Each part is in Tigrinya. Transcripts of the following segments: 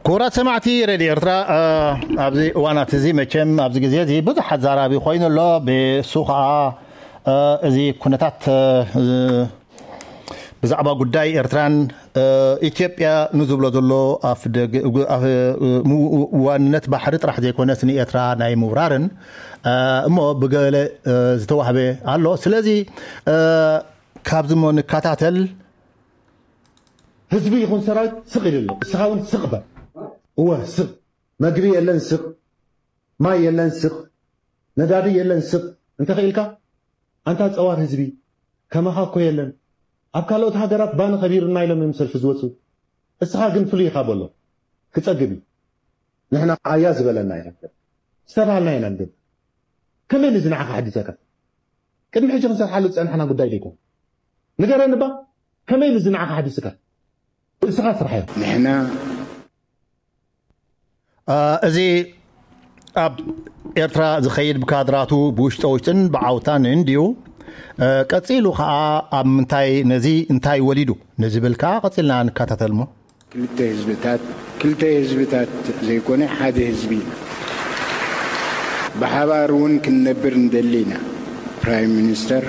ክቡራት ሰማዕቲ ሬድዮ ኤርትራ፣ ኣብዚ እዋናት እዚ መቸም ኣብዚ ግዜ እዚ ብዙሕ ኣዛራቢ ኮይኑ ኣሎ። ብሱ ከዓ እዚ ኩነታት ብዛዕባ ጉዳይ ኤርትራን ኢትዮጵያ ንዝብሎ ዘሎ ኣፍደግ ዋንነት ባሕሪ ጥራሕ ዘይኮነስ ንኤርትራ ናይ ምውራርን እሞ ብገለ ዝተዋህበ ኣሎ። ስለዚ ካብዚ እሞ ንከታተል። ህዝቢ ይኹን ሰራዊት ስቕ ኢሉ ኣሎ። እስኻ እውን ስቕ በል። እወ ስቕ። መግቢ የለን ስቕ። ማይ የለን ስቕ። ነዳዲ የለን ስቕ። እንተኽኢልካ ኣንታ ጸዋር ህዝቢ፣ ከማኻ እኮ የለን። ኣብ ካልኦት ሃገራት ባኒ ከቢሩና ኢሎም እዮም ሰልፊ ዝወፁ። እስኻ ግን ፍሉይ ኢኻ በሎ። ክጸግብ እዩ። ንሕና ኣያ ዝበለና ኢና። ዝተባህልና ኢና ንገብር። ከመይ ንዚ ንዓኻ ሓዲሰካ? ቅድሚ ሕጂ ክንሰርሓሉ ዝጸናሕና ጉዳይ ዶ ይኮን? ንገረኒ እባ፣ ከመይ ንዚ ንዓኻ ሓዲስካ? እስኻ ስራሕ እዮ። ንሕና እዚ ኣብ ኤርትራ ዝኸይድ ብካድራቱ ብውሽጠ ውሽጥን ብዓውታን እንድዩ። ቀጺሉ ኸኣ ኣብ ምንታይ፣ ነዚ እንታይ ወሊዱ ንዝብል ከኣ ቀጺልና ንከታተል እሞ። ክልተ ህዝብታት፣ ክልተ ህዝብታት ዘይኮነ ሓደ ህዝቢ ኢና። ብሓባር እውን ክንነብር ንደሊ ኢና። ፕራይም ሚኒስተር፣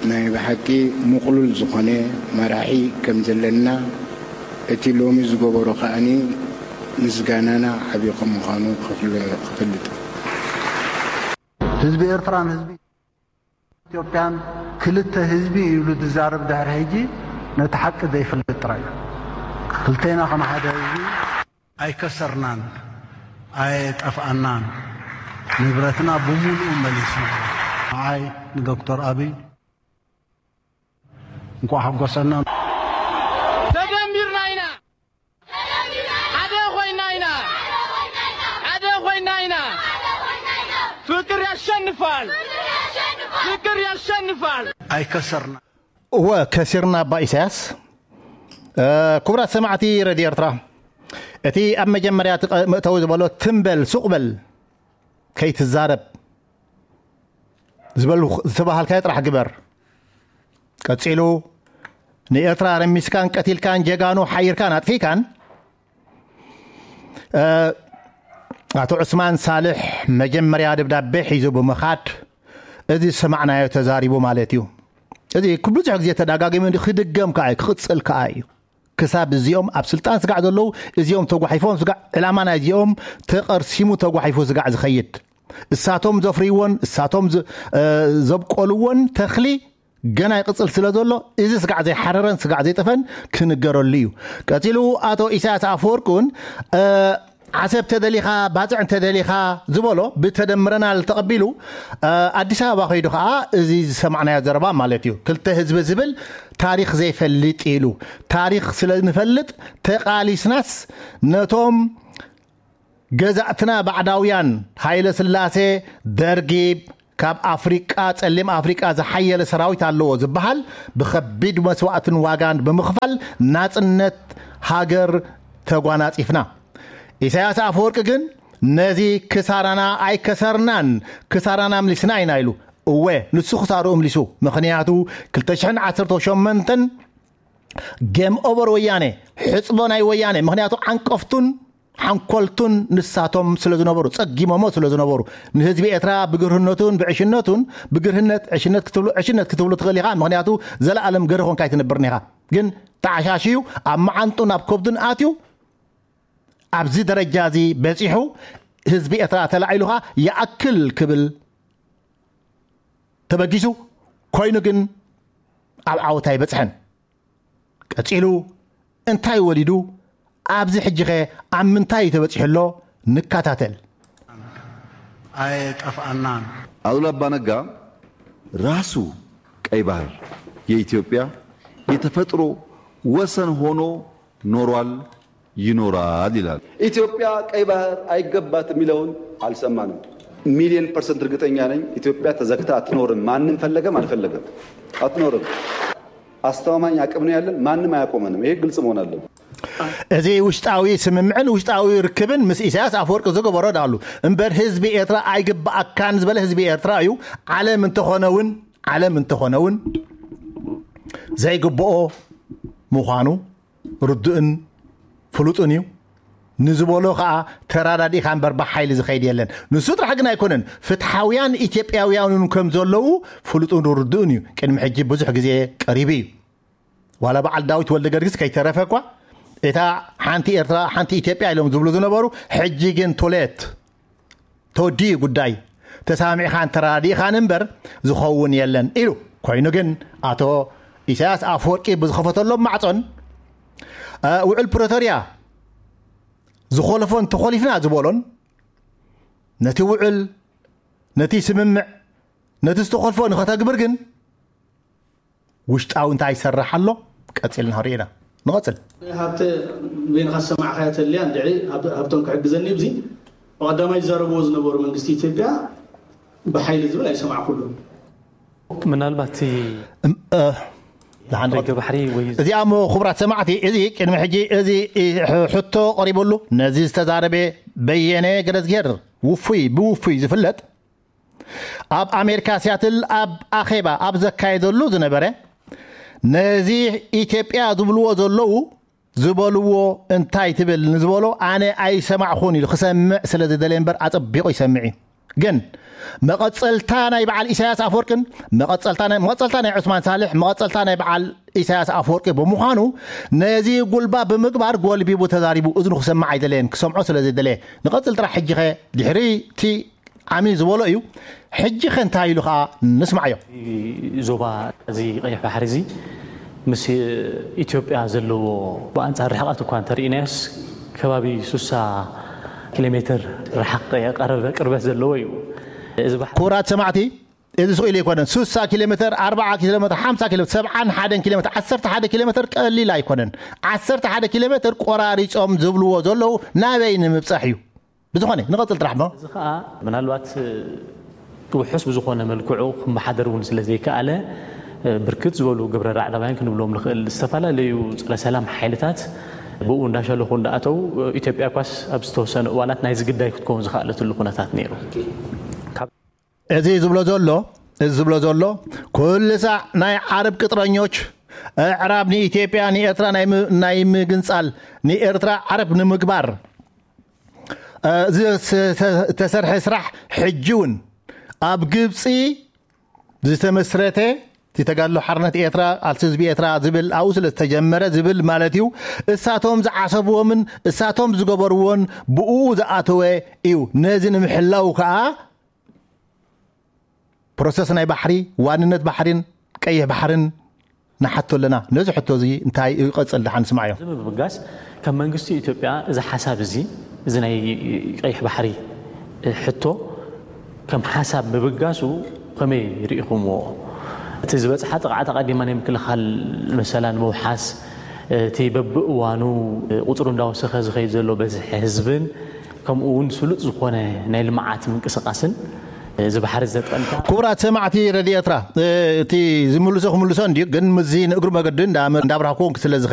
ናይ ብሓቂ ምቕሉል ዝኾነ መራሒ ከም ዘለና እቲ ሎሚ ዝገበሮ ከኣኒ ምስጋናና ዓቢ ከም ምዃኑ ክፍል-፣ ክፈልጥ። ህዝቢ ኤርትራን ህዝቢ ኢትዮጵያን ክልተ ህዝቢ እዩ ኢሉ ዝዛረብ ድሕሪ ሕጂ ነቲ ሓቂ ዘይፈልጥ ጥራይ እዩ። ክልቴና ከም ሓደ ህዝቢ ኣይከሰርናን፣ ኣይጠፍኣናን። ንብረትና ብምሉኡ መሊስና። ንዓይ ንዶክተር ኣብይ እንኳዕ ሓጎሰና። ተደሚርና ኢና። ሓደ ኮይና ኢና። ሓደ ኮይና ኢና። ፍቅር ያሸንፋል። ፍቅር ያሸንፋል። ኣይከሰርና። እወ፣ ከሲርና ኣባ ኢሳያስ። እ፣ ክቡራት ሰማዕቲ ሬድዮ ኤርትራ፣ እቲ ኣብ መጀመርያ እቲ ቀ-፣ መእተዊ ዝበሎ ትም በል፣ ሱቕ በል፣ ከይትዛረብ ዝበሉ ዝተባሃልካዮ ጥራሕ ግበር። ቀጺሉ ንኤርትራ ረሚስካን ቀቲልካን ጀጋኑ ሓይርካን ኣጥፊእካን፣ እ፣ ኣቶ ዑስማን ሳልሕ መጀመርያ ደብዳቤ ሒዙ ብምኻድ እዚ ዝሰማዕናዮ ተዛሪቡ ማለት እዩ። እዚ ብዙሕ ግዜ ተደጋጊሙ ክድገም ከኣ እዩ፣ ክቕጽል ከኣ እዩ። ክሳብ እዚኦም ኣብ ስልጣን ስጋዕ ዘለዉ፣ እዚኦም ተጓሒፎም ስጋዕ፣ ዕላማ ናይ እዚኦም ተቐርሲሙ ተጓሒፉ ስጋዕ ዝኸይድ፣ እሳቶም ዘፍርይዎን እሳቶም ዝ-፣ እ፣ ዘብቆልዎን ተኽሊ ገና ይቕጽል ስለ ዘሎ፣ እዚ ስጋዕ ዘይሓረረን ስጋዕ ዘይጠፈን ክንገረሉ እዩ። ቀጺሉ ኣቶ ኢሳያስ ኣፈወርቂ እውን፣ እ፣ ዓሰብ ተደሊኻ፣ ባጽዕ እንተደሊኻ ዝበሎ ብተደምረናል ተቐቢሉ፣ እ፣ ኣዲስ ኣበባ ከይዱ ኸዓ እዚ ዝሰማዕናዮ ዘረባ ማለት እዩ። ክልተ ህዝቢ ዝብል ታሪኽ ዘይፈልጥ ኢሉ። ታሪኽ ስለ ንፈልጥ ተቓሊስናስ ነቶም ገዛእትና ባዕዳውያን ሃይለ ስላሴ፣ ደርጊ፣ ካብ ኣፍሪቃ፣ ጸሊም ኣፍሪቃ ዝሓየለ ሰራዊት ኣለዎ ዝበሃል ብኸቢድ መስዋእትን ዋጋን ብምኽፋል ናጽነት ሃገር ተጓናጺፍና። ኢሳያስ ኣፈወርቂ ግን ነዚ ክሳራና ኣይከሰርናን፣ ክሳራና ኣምሊስና ኢና ኢሉ። እወ፣ ንሱ ክሳሩ እምሊሱ። ምኽንያቱ ክልተ ሽሕን ዓሰርተ ሸሞንተን ጌም ኦቨር ወያነ፣ ሕጽቦ ናይ ወያነ። ምኽንያቱ ዓንቀፍቱን ሓንኮልቱን ንሳቶም ስለ ዝነበሩ፣ ጸጊሞሞ ስለ ዝነበሩ፣ ንህዝቢ ኤርትራ ብግርህነቱን ብዕሽነቱን፣ ብግርህነት ዕሽነት ክትብሉ፣ ዕሽነት ክትብሉ ትኽእል ኢኻ። ምኽንያቱ ዘለኣለም ገርህ ኮንካ ኣይትነብርን ኢኻ። ግን ተዓሻሽዩ ኣብ መዓንጡን ኣብ ከብዱን ኣትዩ ኣብዚ ደረጃ እዚ በጺሑ፣ ህዝቢ ኤርትራ ተላዒሉኻ ይኣክል ክብል ተበጊሱ ኮይኑ ግን ኣብ ዓወት ኣይበጽሐን። ቀጺሉ እንታይ ወሊዱ? ኣብዚ ሕጂኸ ኣብ ምንታይ እዩ ተበጺሑ ኣሎ? ንከታተል። ኣይጠፍኣናን። አሉላ አባነጋ ራሱ ቀይ ባህር የኢትዮጵያ የተፈጥሮ ወሰን ሆኖ ኖሯል፣ ይኖራል ይላል። ኢትዮጵያ ቀይ ባህር አይገባትም የሚለውን አልሰማንም። ሚሊዮን ፐርሰንት እርግጠኛ ነኝ ኢትዮጵያ ተዘግታ አትኖርም። ማንም ፈለገም አልፈለገም አትኖርም። አስተማማኝ አቅም ነው ያለን። ማንም አያቆመንም። ይሄ ግልጽ መሆን አለበት። እዚ ውሽጣዊ ስምምዕን ውሽጣዊ ርክብን ምስ ኢሳያስ ኣፈወርቂ ዝገበሮ ዳሉ እምበር ህዝቢ ኤርትራ ኣይግባኣካን ዝበለ ህዝቢ ኤርትራ እዩ። ዓለም እንተኾነ እውን፣ ዓለም እንተኾነ እውን ዘይግብኦ ምዃኑ ርዱእን ፍሉጥን እዩ። ንዝበሎ ከዓ ተራዳዲእካ እምበር ብሓይሊ ዝኸይድ የለን። ንሱ ጥራሕ ግን ኣይኮነን፣ ፍትሓውያን ኢትዮጵያውያን እውን ከም ዘለዉ ፍሉጥን ርዱእን እዩ። ቅድሚ ሕጂ ብዙሕ ግዜ ቀሪቡ እዩ። ዋላ በዓል ዳዊት ወልደ ገርግስ ከይተረፈ እኳ፣ እታ ሓንቲ ኤርትራ ሓንቲ ኢትዮጵያ ኢሎም ዝብሉ ዝነበሩ፣ ሕጂ ግን ቶሌት ተወዲኡ ጉዳይ፣ ተሳሚዕኻን ተራዲእኻን እምበር ዝኸውን የለን ኢሉ። ኮይኑ ግን ኣቶ ኢሳያስ ኣፈወርቂ ብዝኸፈተሎም ማዕጾን፣ እ፣ ውዕል ፕሪቶርያ ዝኾለፎን ተኾሊፍና ዝበሎን፣ ነቲ ውዕል፣ ነቲ ስምምዕ፣ ነቲ ዝተኾልፎ ንኸተግብር ግን ውሽጣዊ እንታይ ይሰርሕ ኣሎ ቀጺልና ርኢና ንቐጽል። ሃብተ፣ በይንኻ ዝሰማዕኻያ ተልያ እንድዒ ሃብ-፣ ሃብቶም ክሕግዘኒ። ብዚ ብቐዳማይ ዝዛረብዎ ዝነበሩ መንግስቲ ኢትዮጵያ ብሓይሊ ዝብል ኣይሰማዕኩሉን። ምናልባት እቲ እም፣ እ፣ ደሓን ደገ ንቐጽል። ባሕሪ ወይ እዚኣ እሞ ክቡራት ሰማዕቲ፣ እዚ ቅድሚ ሕጂ እዚ ሕቶ ቀሪበሉ፣ ነዚ ዝተዛረበ በየነ ገረዝጌር ውፉይ ብውፉይ ዝፍለጥ፣ ኣብ ኣሜሪካ ሲያትል ኣብ ኣኼባ ኣብ ዘካየደሉ ዝነበረ፣ ነዚ ኢትዮጵያ ዝብልዎ ዘለዉ ዝበልዎ እንታይ ትብል ንዝበሎ ኣነ ኣይሰማዕኹን ኢሉ ክሰምዕ ስለ ዝደለየ እምበር ኣጸቢቑ ይሰምዕ እዩ። ግን መቐጸልታ ናይ በዓል ኢሳያስ ኣፈወርቅን መቐጸልታ ናይ መቐጸልታ ናይ ዑስማን ሳልሕ መቐጸልታ ናይ በዓል ኢሳያስ ኣፈወርቂ ብምዃኑ ነዚ ጉልባ ብምግባር ጎልቢቡ ተዛሪቡ እዝኑ ክሰምዕ ኣይደለየን፣ ክሰምዖ ስለ ዘይደለየ። ንቐጽል ጥራሕ ሕጂ ኸ ድሕሪ እቲ ዓሚ ዝበሎ እዩ። ሕጂ ኸ እንታይ ኢሉ ኸኣ ንስማዕዮ። ዞባ እዚ ቀይሕ ባሕሪ እዚ ምስ ኢትዮጵያ ዘለዎ ብኣንጻር ርሕቐት እኳ እንተርኢናዮስ ከባቢ ሱሳ ኪሎ ሜትር ርሓቕ የቐረበ ቅርበት ዘለዎ እዩ። እዚ ባሕሪ ክቡራት ሰማዕቲ፣ እዚ ስቕ ኢሉ ኣይኮነን። ሱሳ ኪሎ ሜትር፣ ኣርብዓ ኪሎ ሜትር፣ ሓምሳ ኪሎ ሜትር፣ ሰብዓን ሓደን ኪሎ ሜትር፣ ዓሰርተ ሓደ ኪሎ ሜትር ቀሊል ኣይኮነን። ዓሰርተ ሓደ ኪሎ ሜትር ቆራሪጾም ዝብልዎ ዘለዉ ናበይ ንምብጻሕ እዩ። ብዝኾነ ንቐጽል ጥራሕ እሞ። እዚ ከዓ ምናልባት ውሑስ ብዝኾነ መልክዑ ክመሓደር እውን ስለ ዘይከኣለ ብርክት ዝበሉ ግብረ ራዕዳውያን ክንብሎም ንኽእል ዝተፈላለዩ ፀረ ሰላም ሓይልታት ብኡ እንዳሸለኹ እንዳኣተው ኢትዮጵያ ኳስ ኣብ ዝተወሰነ እዋናት ናይዚ ግዳይ ክትከውን ዝኸኣለትሉ ኩነታት ነይሩ። እዚ ዝብሎ ዘሎ እዚ ዝብሎ ዘሎ ኩሉ ሳዕ ናይ ዓረብ ቅጥረኞች ኣዕራብ ንኢትዮጵያ ንኤርትራ ናይ ም- ናይ ምግንጻል ንኤርትራ ዓረብ ንምግባር እ፣ ዝ- ስ- ተ- ዝተሰርሐ ስራሕ ሕጂ እውን ኣብ ግብፂ ዝተመስረተ እቲ ተጋድሎ ሓርነት ኤርትራ ቃልሲ ህዝቢ ኤርትራ ዝብል ኣብኡ ስለ ዝተጀመረ ዝብል ማለት እዩ። እሳቶም ዝዓሰብዎምን እሳቶም ዝገበርዎን ብኡ ዝኣተወ እዩ። ነዚ ንምሕላው ከዓ ፕሮሰስ ናይ ባሕሪ ዋንነት ባሕሪን ቀይሕ ባሕርን ንሓቶ ኣለና። ነዚ ሕቶ እዚ እንታይ ይቐጽል ደሓን ስማዕዮ። እዚ ምብጋስ ከም መንግስቲ ኢትዮጵያ እዚ ሓሳብ እዚ እዚ ናይ ቀይሕ ባሕሪ ሕቶ ከም ሓሳብ ምብጋሱ ከመይ ርኢኹምዎ? እቲ ዝበፅሓ ጥቕዓት ኣቐዲማ ናይ ምክልኻል መሰላ ንምውሓስ እቲ በብእዋኑ ቁፅሩ እንዳወሰኸ ዝኸይድ ዘሎ በዝሒ ህዝብን ከምኡ እውን ስሉጥ ዝኾነ ናይ ልምዓት ምንቅስቃስን እዚ ባሕሪ ዘጠንታ ክቡራት ሰማዕቲ ረድዮ ኤርትራ፣ እቲ ዝምልሶ ክምልሶ እንድዩ፣ ግን ምዚ ንእግሪ መገዲ እንዳ- እንዳብራህኩ ስለ